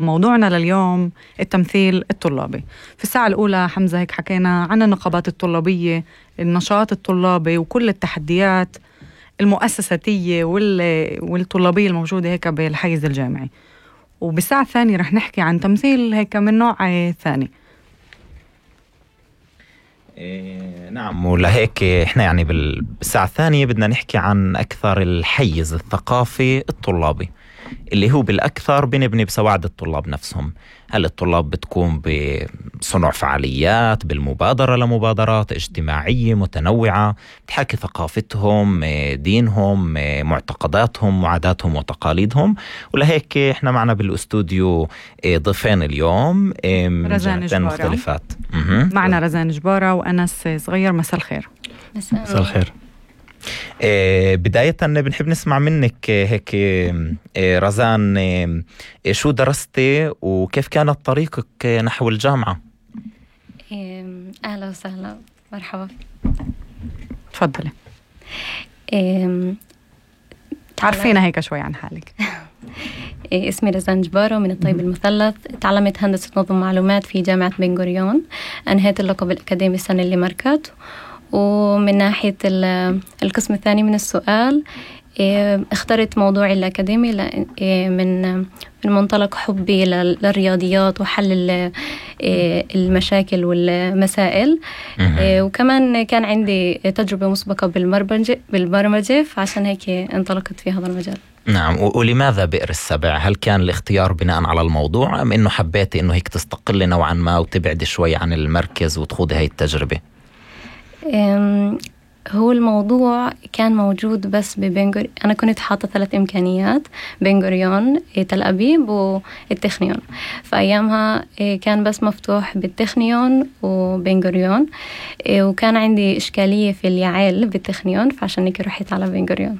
موضوعنا لليوم التمثيل الطلابي. في الساعة الأولى حمزة هيك حكينا عن النقابات الطلابية، النشاط الطلابي وكل التحديات المؤسساتية والطلابية الموجودة هيك بالحيز الجامعي. وبالساعة الثانية رح نحكي عن تمثيل هيك من نوع ثاني. نعم، ولهيك احنا يعني بالساعة الثانية بدنا نحكي عن أكثر الحيز الثقافي الطلابي اللي هو بالأكثر بنبني بسواعد الطلاب نفسهم. هل الطلاب بتكون بصنع فعاليات، بالمبادرة لمبادرات اجتماعية متنوعة بتحكي ثقافتهم، دينهم، معتقداتهم وعاداتهم وتقاليدهم. ولهيك احنا معنا بالاستوديو ضيفين اليوم رزان جبارة مختلفات. معنا رزان جبارة وأنس صغير. مساء الخير. مساء الخير. بداية بنحب نسمع منك هيك رزان، شو درستي وكيف كانت طريقك نحو الجامعة؟ أهلا وسهلا، مرحبا. تفضلي. تعرفينا هيك شوي عن حالك. اسمي رزان جبارة من الطيب المثلث. تعلمت هندسة نظم معلومات في جامعة بن غوريون، أنهيت اللقب الأكاديمي السنة اللي مركت. ومن ناحية القسم الثاني من السؤال، اخترت موضوعي الأكاديمي من منطلق حبي للرياضيات وحل المشاكل والمسائل. وكمان كان عندي تجربة مسبقة بالبرمجة، فعشان هيك انطلقت في هذا المجال. نعم، ولماذا بئر السبع؟ هل كان الاختيار بناء على الموضوع أم إنه حبيتي إنه هيك تستقلي نوعا ما وتبعدي شوي عن المركز وتخوضي هاي التجربة؟ هو الموضوع كان موجود بس أنا كنت حاطة 3 إمكانيات: بن غوريون، تل أبيب والتخنيون. فأيامها كان بس مفتوح بالتخنيون وبن غوريون، وكان عندي إشكالية في اليعيل بالتخنيون، فعشان هيك رحت على بن غوريون.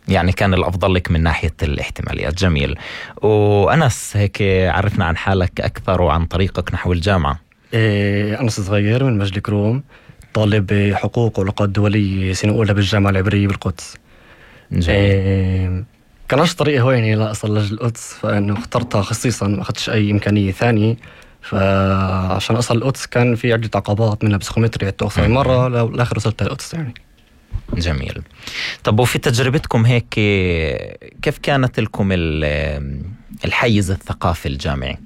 يعني كان الأفضل لك من ناحية الاحتماليات. جميل. وأنس هيك عرفنا عن حالك أكثر وعن طريقك نحو الجامعة. أنس صغير من مجد كروم، طالب حقوق وعلاقات دولية سنة أولى بالجامعة العبرية بالقدس. كانش طريقي هويني لا أصل للقدس، فإنه اخترتها خصيصا، ما أخذتش أي إمكانية ثانية. فعشان أصل القدس كان في عدة عقبات، منها بسخومتري توصل مرة لآخر وصلت للقدس يعني. جميل. طب وفي تجربتكم هيك كيف كانت لكم الحيز الثقافي الجامعي؟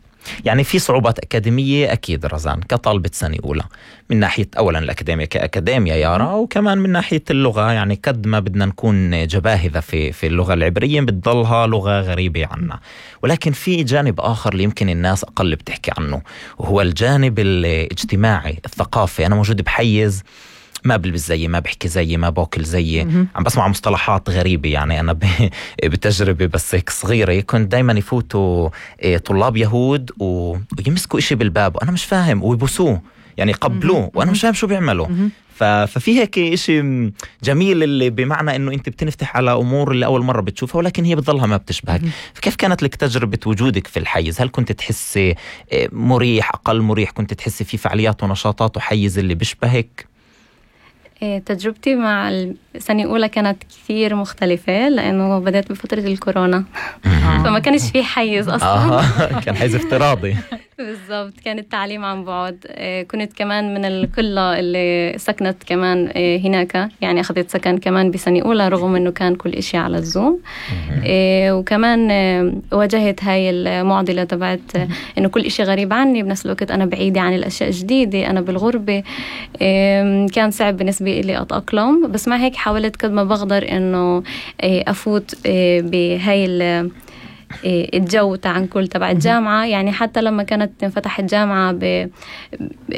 يعني في صعوبات أكاديمية أكيد رزان كطالبة سنة أولى، من ناحية أولا الأكاديمية كأكاديمية يارا، وكمان من ناحية اللغة. يعني قد ما بدنا نكون جباهذة في اللغة العبرية بتضلها لغة غريبة عنا، ولكن في جانب آخر اللي يمكن الناس أقل بتحكي عنه، وهو الجانب الاجتماعي الثقافي. أنا موجود بحيز ما بلبس زيي، ما بحكي زيي، ما باكل زيي، عم بسمع مصطلحات غريبة. يعني أنا بتجربة بس هيك صغيرة كنت دايما يفوتوا طلاب يهود ويمسكوا إشي بالباب وأنا مش فاهم، ويبوسوه يعني يقبلوه وأنا مش فاهم شو بيعملوا. ففي هيك إشي جميل اللي بمعنى إنه أنت بتنفتح على أمور اللي أول مرة بتشوفها، ولكن هي بتظلها ما بتشبهك. فكيف كانت لك تجربة وجودك في الحيز؟ هل كنت تحسي مريح، أقل مريح؟ كنت تحسي في فعاليات ونشاطات وحيز اللي بيشبهك؟ تجربتي مع السنة الأولى كانت كثير مختلفة، لأنه بدأت بفترة الكورونا. فما كانش فيه حيز أصلا. كان حيز افتراضي. بالضبط، كان التعليم عن بعد. كنت كمان من القلة اللي سكنت كمان هناك، يعني أخذت سكن كمان بسنة أولى رغم أنه كان كل إشي على الزوم. وكمان واجهت هاي المعضلة تبعت أنه كل إشي غريب عني، بنفس الوقت أنا بعيدة عن الأشياء الجديدة، أنا بالغربة. كان صعب بالنسبة لي أتأقلم، بس مع هيك حاولت قد ما بقدر أنه أفوت بهاي الجو تعنكل تبع الجامعة. يعني حتى لما كانت تنفتح الجامعة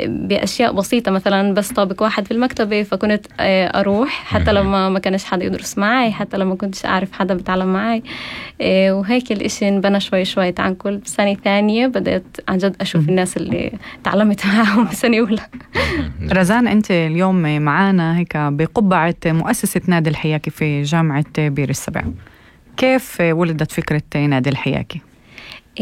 بأشياء بسيطة، مثلا بس طابق واحد في المكتبة، فكنت أروح حتى لما ما كانش حدا يدرس معي، حتى لما كنتش أعرف حدا بيتعلم معي. وهيك الإشي انبنى شوي شوي تعنكل. بسنة ثانية بدأت عن جد أشوف الناس اللي تعلمت معهم بسنة أولى. رزان، أنت اليوم معانا هيك بقبعة مؤسسة نادي الحياكي في جامعة بئر السبع. كيف ولدت فكرة نادي الحياكي؟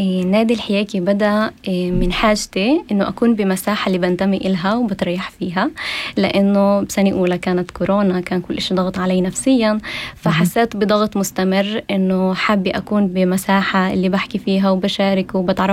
نادي الحياكي بدأ من حاجتي إنه أكون بمساحة اللي بنتمي إلها وبتريح فيها، لأنه بسنة أولى كانت كورونا، كان كل إشي ضغط علي نفسيا، فحسيت بضغط مستمر إنه حابة أكون بمساحة اللي بحكي فيها وبشارك وبتعرف